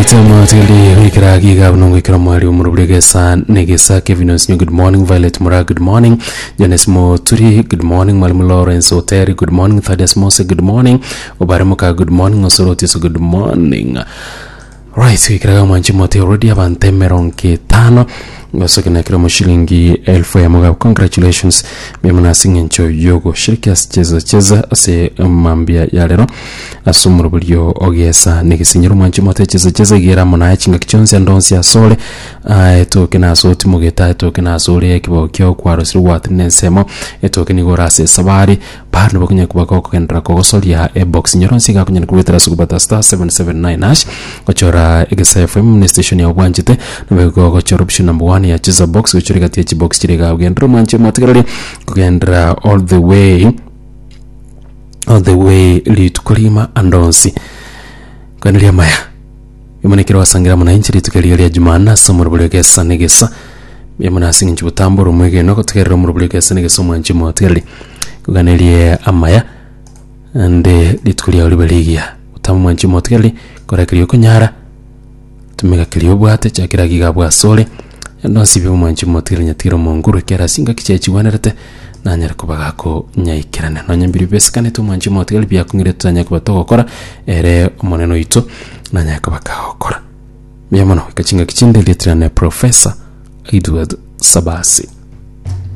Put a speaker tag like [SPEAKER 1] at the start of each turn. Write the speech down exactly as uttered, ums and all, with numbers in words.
[SPEAKER 1] Right, mwatili wikira giga bunongo ikira mwali umurubure gesa negesa Kevin Osinyo, good morning. Violet Mura, good morning. Jones Moturi, good morning. Mwalimu Lawrence Oteri, good morning. Thaddeus Mose, good morning. Obaremuka, good morning. Osorotiso, good morning. Right, wikiraga mwanchi mote already abantu emerongo etano gosokenakira mu shilingi elfu ya mugabo. Congratulations bimuna ng'encho yogo shiriki ase cheza cheza ase mambia ya lero ase omoroborio ogesa negesinyero. Mwanchi mote, cheza cheza igera mona chingaki chionsi andonsi asole etoke nase otimogeta etoke nase ore ekibao kio kwarosire gwatire nensemo etoke nigo orase esabari bado bakonya kuba kogendera kogosoria ebox nyoronsi gakunyana kubetera ase kobata star seven seven nine hash gochora Egesa F M ne station ya obwanchete nabego gochora option number one ya cheza box, gochora gati ya chibox chire gagendera. Mwanche motigereri kugendera all the way, all the way rituko rima andonsi kweneria maya imonekero wasangira mwananchi rituko riria ria Jumanne ase omorobori gesa negesa yamuna ase ng'encho botambora omwegeno gotegerera omorobori gesa negesa. Omwanchi motigereri kuganerie amaya ande rituko riao ribe rigiya gotama. Omwanchi motigereri korekeria okonyara tumeka keria obwate chakera giga bwasore ndonsi bi. Omwanchi motigereri nyatigere omonguru ekera ase ingaki chiachigwenerete nanyare koba gako nyaikerana nonya mbiri besikanete. Omwanchi motigereri biakong'ire tutanya koba togokora ere omonene oito nanyare koba kagokora mbuya mono. Ika chingaki chinde lietirane Professor Edward Sabasi.